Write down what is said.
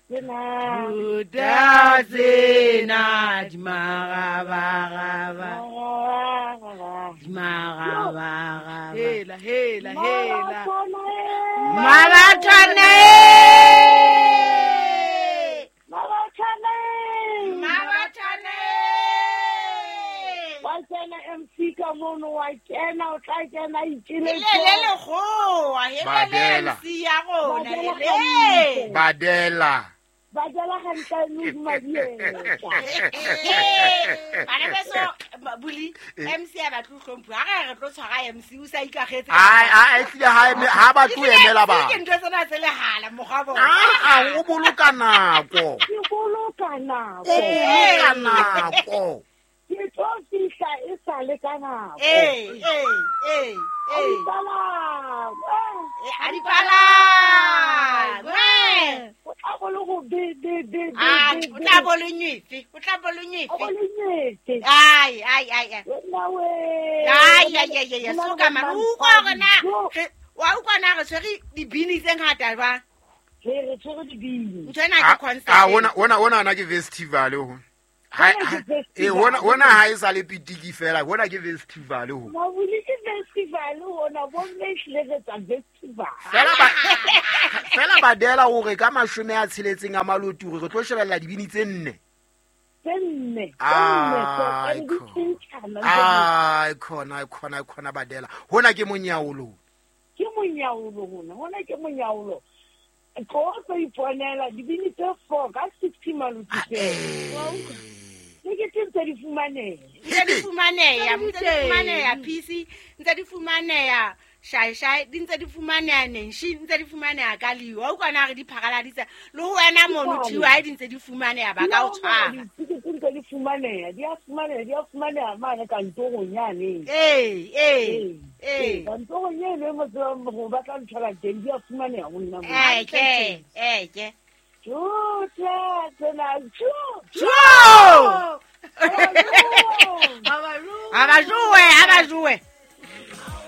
tsena. Juta tsena di marabagaba. Di marabagaba. Hela, hela, hela. Mabathwane. Mabathane. Mabathwane. Wa tsena MC ka mono, wa kena, o tla kena itjele. Le le lekgowa, hele le Badela. MC ya rona, Badela hele. hantle. Badela. Badela hantle modimabietsa. Bana beso, buli, MC a batle ho hlomphuwa. Ha re re tlo tshwara MC, o sa ikakgetse. Ai, ai, ehlile ha ba tlo emela Ke batho. ntho tsena tse lehala mokgwa bona. Ah, o boloka nako. Ke boloka nako. O boloka nako. Ke tlo fihla e sa le ka nako. Ee, ee, ee, A ee. dipalangwe. Eh, a dipalangwe. O tla bo le go be be be be. Ah, be, o be. tla bo le nyefe, o tla bo le O bo nyefe. le nyetse. Ai, ai, ai, ai. Wena we. Ai, ai, ai, ai, Ho na le soka man. bo O utlwa hore na Jo. wa utlwa na re tshwere dibini tse ngata jwang? Re re tshwere dibini. Ntho ena ke concert. Ah, hona ana ke festival ho. Hona ke festival. Eh, hona ha e sa le pitiki fela, hona ke festival ho. Mabuli ke festival hona, bomme ehlile re tsa festival. Fela badela hore ka 60 a maloti hore re tlo shebella dibini tse nne. Tse nne. Tse nne, Ai, tse di tjhentjhana. Ai, khona, khona, khona badela. Hona ke monyaolo. Ke monyaolo hona, hona ke monyaolo. Tlo tlo iponela dibini tse 4 ka 60 maloti fela. Wa utlwa? Tekete ntse di fumaneha. Ntse di fumaneha, ntse di fumaneha PC, ntse di fumaneha shai shai, di ntse di fumaneha nenshi, ntse di fumaneha ka liwa. Wa utlwa na re di pharaladitse. Le ho wena mono TY di ntse di fumaneha ba ka o tshwara. Ditekete ntse di fumaneha, di a fumaneha, di a fumaneha mane kantorong yane. Ee, ee, ee. Kantorong eno e mo tsebang hore ba tla nthola teng, di a fumaneha ho nna moo. Eke, eke. Tjotla tsena, tjo, Jo! tjo. Ha ba jowe. Ha ba jowe, ha ba jowe.